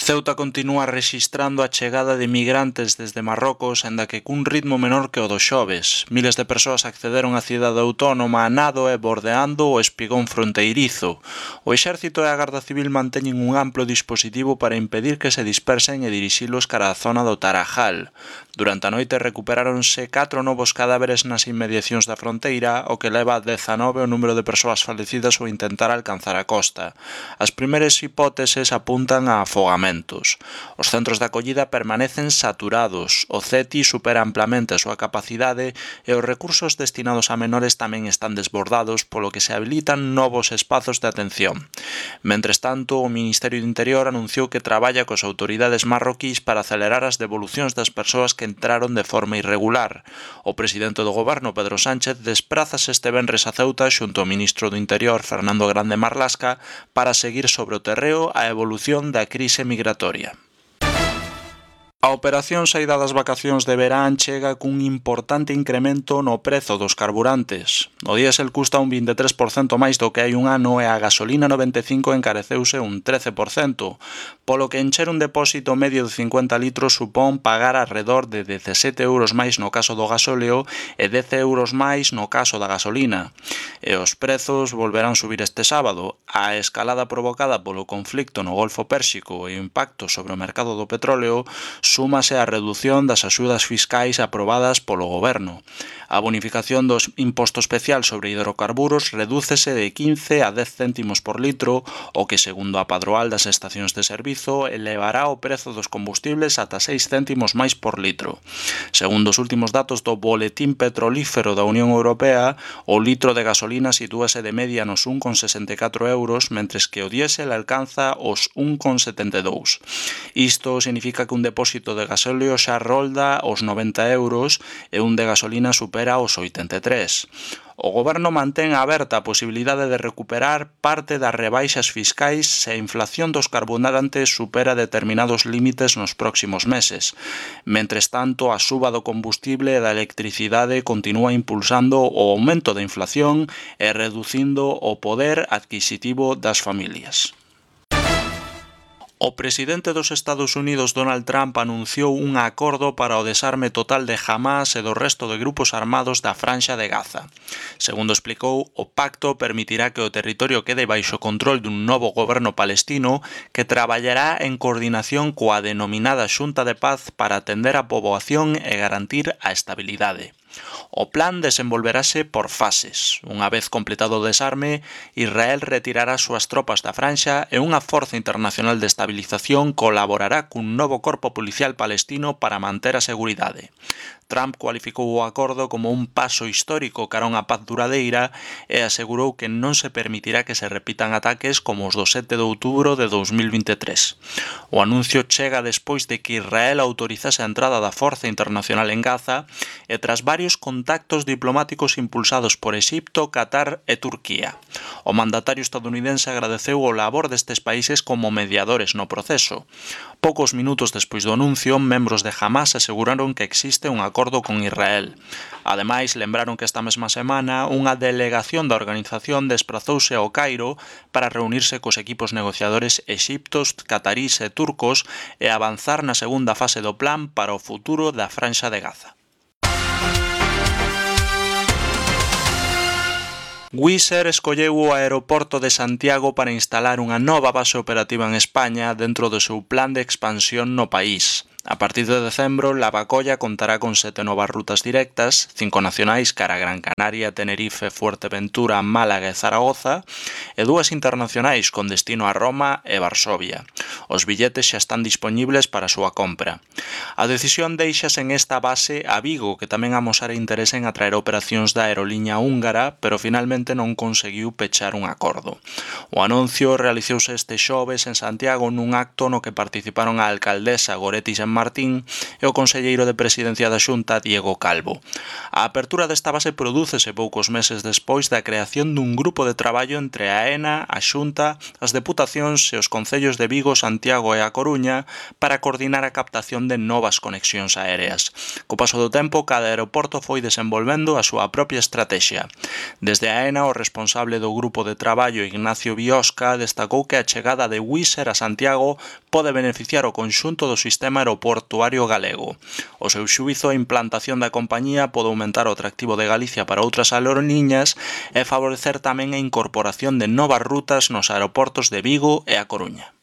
Ceuta continúa rexistrando a chegada de migrantes desde Marrocos, aínda que cun ritmo menor que o do xoves. Miles de persoas accederon á cidade autónoma a nado e bordeando o espigón fronteirizo. O Exército e a Garda Civil manteñen un amplo dispositivo para impedir que se dispersen e dirixilos cara á zona do Tarajal. Durante a noite recuperáronse 4 novos cadáveres nas inmediacións da fronteira, o que leva a 19 o número de persoas falecidas ao intentar alcanzar a costa. As primeiras hipóteses apuntan a afogamentos. Os centros de acollida permanecen saturados, o CETI supera amplamente a súa capacidade e os recursos destinados a menores tamén están desbordados, polo que se habilitan novos espazos de atención. Mentres tanto, o Ministerio do Interior anunciou que traballa coas autoridades marroquís para acelerar as devolucións das persoas que entraron de forma irregular. O presidente do goberno, Pedro Sánchez, desprázase este venres a Ceuta xunto ao ministro do Interior, Fernando Grande Marlasca, para seguir sobre o terreo a evolución da crise migratoria. A operación saída das vacacións de verán chega cun importante incremento no prezo dos carburantes. O diésel custa un 23% máis do que hai un ano e a gasolina 95 encareceuse un 13%, polo que encher un depósito medio de 50 litros supón pagar arredor de 17 euros máis no caso do gasóleo e 10 euros máis no caso da gasolina. E os prezos volverán subir este sábado. A escalada provocada polo conflicto no Golfo Pérsico e o impacto sobre o mercado do petróleo súmase a redución das axudas fiscais aprobadas polo goberno. A bonificación dos imposto especial sobre hidrocarburos redúcese de 15 a 10 céntimos por litro, o que, segundo a padroal das estacións de servizo, elevará o prezo dos combustibles ata 6 céntimos máis por litro. Segundo os últimos datos do Boletín Petrolífero da Unión Europea, o litro de gasolina sitúase de media nos 1,64 euros, mentres que o diésel alcanza os 1,72. Isto significa que un depósito de gasóleo xa rolda os 90 euros e un de gasolina supera os 83. O goberno mantén aberta a posibilidade de recuperar parte das rebaixas fiscais se a inflación dos carburantes supera determinados límites nos próximos meses. Mentres tanto, a suba do combustible e da electricidade continúa impulsando o aumento da inflación e reducindo o poder adquisitivo das familias. O presidente dos Estados Unidos, Donald Trump, anunciou un acordo para o desarme total de Hamás e do resto de grupos armados da Franxa de Gaza. Segundo explicou, o pacto permitirá que o territorio quede baixo control dun novo goberno palestino que traballará en coordinación coa denominada Xunta de Paz para atender a poboación e garantir a estabilidade. O plan desenvolverase por fases. Unha vez completado o desarme, Israel retirará as súas tropas da Franxa e unha forza internacional de estabilización colaborará cun novo corpo policial palestino para manter a seguridade. Trump cualificou o acordo como un paso histórico cara a unha paz duradeira e asegurou que non se permitirá que se repitan ataques como os do 7 de outubro de 2023. O anuncio chega despois de que Israel autorizase a entrada da Forza Internacional en Gaza e tras varios contactos diplomáticos impulsados por Exipto, Qatar e Turquía. O mandatario estadounidense agradeceu o labor destes países como mediadores no proceso. Poucos minutos despois do anuncio, membros de Hamás aseguraron que existe un acordo con Israel. Ademais, lembraron que esta mesma semana unha delegación da organización desprazouse ao Cairo para reunirse cos equipos negociadores exiptos, catarís e turcos e avanzar na segunda fase do plan para o futuro da Franxa de Gaza. Wizz Air escolleu o aeroporto de Santiago para instalar unha nova base operativa en España dentro do seu plan de expansión no país. A partir de decembro, Lavacolla contará con 7 novas rutas directas, 5 nacionais cara a Gran Canaria, Tenerife, Fuerteventura, Málaga e Zaragoza, e 2 internacionais con destino a Roma e Varsovia. Os billetes xa están dispoñibles para a súa compra. A decisión deixase en esta base a Vigo, que tamén amosara interese en atraer operacións da aeroliña húngara, pero finalmente non conseguiu pechar un acordo. O anuncio realizouse este xoves en Santiago nun acto no que participaron a alcaldesa Goretti San Martín e o conselleiro de Presidencia da Xunta, Diego Calvo. A apertura desta base prodúcese poucos meses despois da creación dun grupo de traballo entre a AENA, a Xunta, as deputacións e os concellos de Vigo, Vigo, Santiago e A Coruña para coordinar a captación de novas conexións aéreas. Co paso do tempo, cada aeroporto foi desenvolvendo a súa propia estratexia. Desde AENA, o responsable do grupo de traballo Ignacio Biosca destacou que a chegada de Wizz Air a Santiago pode beneficiar o conxunto do sistema aeroportuario galego. O seu xuízo, a implantación da compañía pode aumentar o atractivo de Galicia para outras aerolíneas e favorecer tamén a incorporación de novas rutas nos aeroportos de Vigo e A Coruña.